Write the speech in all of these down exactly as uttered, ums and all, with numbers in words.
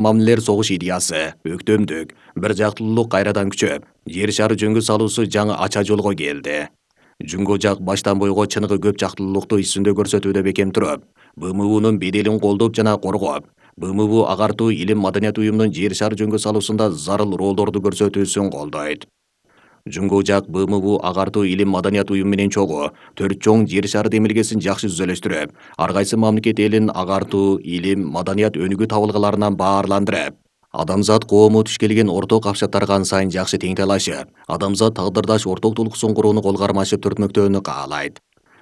Мамилелер согуш идеясы, өктөмдүк, бир жактылуулук кайрадан күчөп, жер шары жөнгө салуусу жаңы ача жолго келди. Жунго жак баштан бойго чыныгы көп жактылуулукту исүндө көрсөтүүдө бекем туруп, Б М Унун беделин колдоп жана коргоп, Б М У агартуу илим маданият уюмунун жер шары жөнгө салуусунда зарыл ролдорду көрсөтүүсүн колдойт. Жунго жак Б М У агартуу илим маданият уюму менен чогуу төрт чоң жер шары демилгесин жакшы түзөлөштүрүп, ар кайсы мамлекет элин агартуу илим маданият өнүгүү табылгаларынан баарландырып, адамзат коому туш келген орток капчаттарга ан сайын жакшы тең талашып, адамзат тагдырдаш орток тулкуусун курууну кол кармашып түртмөктөөнү каалайт.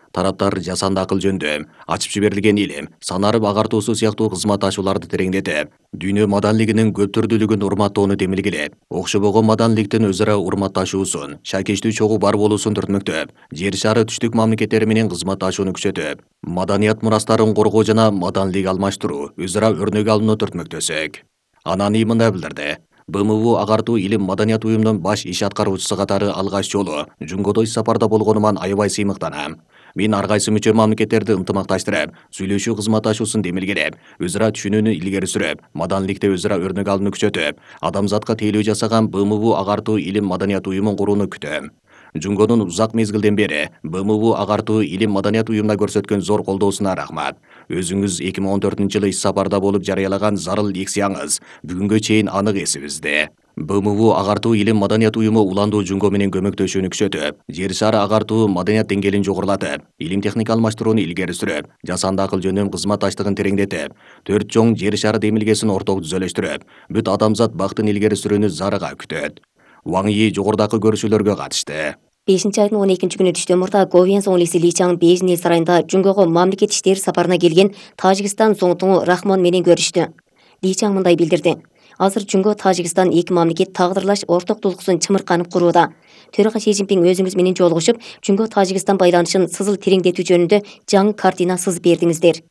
Тараптар жасанды акыл жөндөм, ачып жиберилген илим, санарып агартуусу сыяктуу кызматташууларды тереңдетип, дүйнө маданилигинин көп түрдүүлүгүн урматтоону демилгелеп, окшобогон маданиликтин өз ара урматташуусун, шакештүү чогуу бар болуусун түртмөктөп, жер шары түштүк мамлекеттери менен кызматташууну күчөтүп, маданият мурастарын коргоо жана маданилик алмаштыруу, өз ара өрнөк алууну түртмөктөсөк. Анан мындай билдирди. Б М У агартуу илим маданият уюмунун баш иш аткаруучусу катары алгач жолу Жунгодо иш сапарда болгонуман аябай сыймыктанам. Мен ар кайсы мүчө мамлекеттерди ынтымакташтырып, сүйлөшүү кызматташуусун демилгелеп, өз ара түшүнүүнү илгери сүрүп, маданиликте өз ара өрнөк алууну күчөтүп, адамзатка тейлөө жасаган Б М У агартуу илим маданият уюмун курууну күтөм. Жунгонун узак мезгилден бери Б М У агартуу илим маданият уюмуна көрсөткөн зор колдоосуна рахмат. Өзүңүз эки миң он төртүнчү жылы иш сапарда болуп жарыялаган зарыл лекцияңыз бүгүнгө чейин анык эсибизде. Б М У агартуу илим маданият уюму уландуу Жунго менен көмөктөшүүнү күчөтүп, жер шары агартуу маданият деңгээлин жогорулатып, илим техника алмаштырууну илгери сүрүп, жасанды акыл жөнүндө кызматташтыгын тереңдетип, төрт чоң жер шары демилгесин орток түзөлөштүрүп, бүт адамзат бактын илгери сүрүүнү зарыга күтөт. Ваң Йи жогорудагы көрүшүүлөргө катышты. бешинчи айдын он экинчи күнү түштөн мурда Говен соңлиси Ли Чаң Бейжин эл сарайында Жунгого мамлекет иштери сапарына келген Тажикстан соңтуңу Рахмон менен көрүштү. Ли Чаң мындай билдирди. Азыр Жунго Тажикстан эки мамлекет тагдырлаш орток тулкуусун чымырканып курууда. Төрага Си Цзиньпин өзүңүз менен жолугушуп, Жунго Тажикстан байланышын сызыл тереңдетүү жөнүндө жаңы картина сызып бердиңиздер.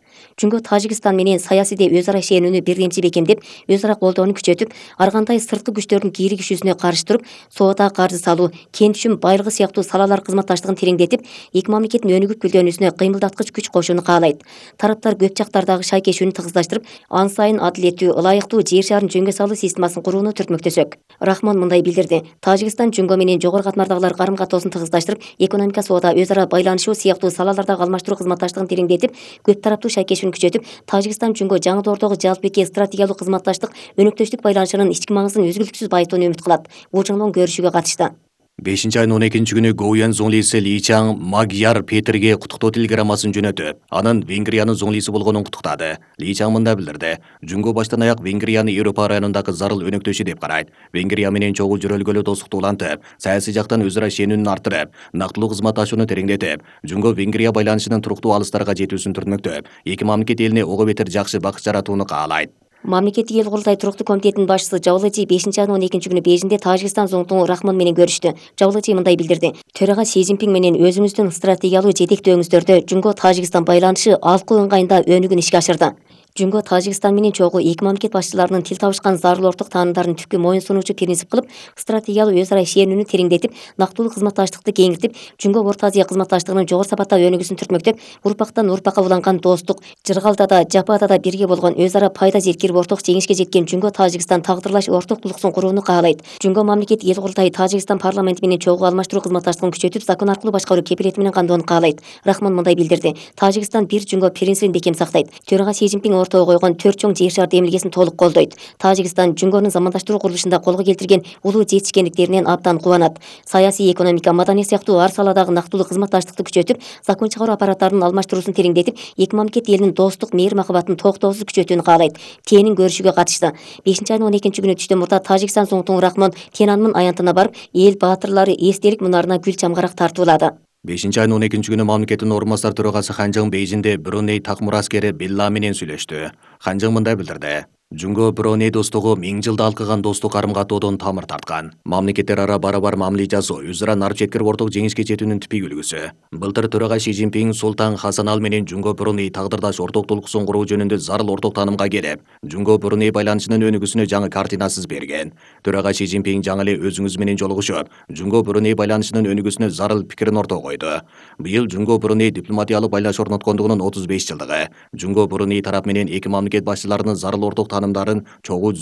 Жунго Тажикстан менен саясийде өз ара ишенүүнү бирдемчи бекемдеп, өз ара колдоону күчөтүп, ар кандай сырткы күчтөрдүн кииригишүүсүнө каршы туруп, соода каржы салуу, кен түшүм байлыгы сыяктуу салалар кызматташтыгын тереңдетип, эки мамлекеттин өнүгүп гүлдөнүүсүнө кыймылдаткыч күч кошууну каалайт. Тараптар көп жактардагы шайкешүүнү тыгыздаштырып, ан сайын адилеттүү, ылайыктуу жер шарын жөнгө салуу системасын курууну түртмөктөсөк. Рахмон мындай билдирди. Тажикстан Жунго менен жогору катмардагылар карым-катоосун тыгыздаштырып, экономика, соода, өз ара байланышуу сыяктуу салалардагы алмаштыруу кызматташтыгын тереңдетип, көп тараптуу шайкешүүнү күчөтүп, Тажикстан Жунго жаңы доордогу жалпыеки стратегиялык кызматташтык, өнөктөштүк байланышынын ички маңызын үзгүлтүксүз байытууну үмүт кылат. Бул жолдон көрүшүүгө катышты. бешинчи айдын он экинчи күнү Говен зоңлиси Ли Чаң Magyar Петерге куттуктоо телеграммасын жөнөтүп, анын Венгриянын зоңлиси болгонун куттуктады. Ли Чаң мындай билдирди. Жунго баштан аяк Венгрияны Европа районундагы зарыл өнөктөшү деп карайт. Венгрия менен чогуу жөрөлгөлүү достукту улантып, саясий жактан өз ара ишенүүнү арттырып, нактылуу кызматташууну тереңдетип, Жунго Венгрия байланышынын туруктуу алыстарга жетүүсүн түртмөктөп, эки мамлекет элине ого бетер жакшы бакыт жаратууну каалайт. Мамлекеттик эл курултай туруктуу комитетинин башчысы Жавлыжи бешинчи айдын он экинчи күнү Бейжинде Тажикстан соңтуңу Рахмон менен көрүштү. Жавлыжи мындай билдирди. Төрага Си Цзиньпин менен өзүңүздүн стратегиялуу жетектөөңүздөрдө Жунго Тажикстан байланышы алкуу ыңгайында өнүгүүнү ишке ашырды. Жунго Тажикстан менен чогуу эки мамлекет башчыларынын тил табышкан зарыл орток таанымдарын түпкү моюн сунуучу принцип кылып, стратегиялуу өз ара ишенүүнү тереңдетип, нактылуу кызматташтыкты кеңиртип, Жунго Орто Азия кызматташтыгынын жогору сапатта өнүгүүсүн түртмөктөп, урпактан урпакка уланган достук, Жыргалда да, Жапада да бирге болгон өз ара пайда зеркирип орток жеңишке жеткен Жунго Тажикстан тагдырлаш орток тулкуусун курууну каалайт. Жунго мамлекеттик эл курултайы Тажикстан парламенти менен чогуу алмаштыруу кызматташтыгын күчөтүп, закон аркылуу башкаруу кепилети менен камдоону каалайт. Рахмон мындай билдирди. Тажикстан бир Жунго принцибин бекем сактайт. Төрага Си Цзиньпин ортого койгон төрт чоң жер шар демилгесин толук колдойт. Тажикстан Жунгонун замандаштыруу курулушунда колго келтирген улуу жетишкендиктеринен абдан кубанат. Саясий, экономика, маданият сыяктуу ар саладагы нактылуу кызматташтыкты күчөтүп, закон чыгаруу аппараттарынын алмаштыруусун тереңдетип, эки мамлекет элинин достук, мейир махабатын токтоосуз күчөтүүнү каалайт. Тенин көрүшүүгө катышты. бешинчи айдын он экинчи күнү түштөн мурда Тажикстан соңтуңу Рахмон Тяньанмын аянтына барып, эл баатырлары эстелик мунарына гүл чамгарак тартуулады. бешинчи айдын он экинчи күнү мамлекеттин орун басар төрагасы Ханжың Бейжинде Бруней так мураскери Билла менен сүйлөштү. Ханжың мындай билдирди. Жунго Бруней достугу миң жылда алкыган достук карым-катоодон тамыр тарткан. Мамлекеттер ара бара-бар мамиле жасоо, өз ара нар четкирип орток жеңишке жетүүнүн типик үлгүсү. Былтыр төрага Си Цзиньпин Султан Хасан менен Жунго Бруней тагдырдаш орток толкуусун куруу жөнүндө зарыл орток таанымга келип, Жунго Бруней байланышынын өнүгүүсүнө жаңы картина сызып берген. Төрага Си Цзиньпин жаңы эле өзүңүз менен жолугушуп, Жунго Бруней байланышынын өнүгүүсүнө зарыл пикирин ортого койду. Быйыл Жунго Бруней дипломатиялык байланыш орноткондугунун отуз беш жылдыгы. Жунго Бруней тарап менен эки мамлекет башчыларынын зарыл орток таанымдарын чогуу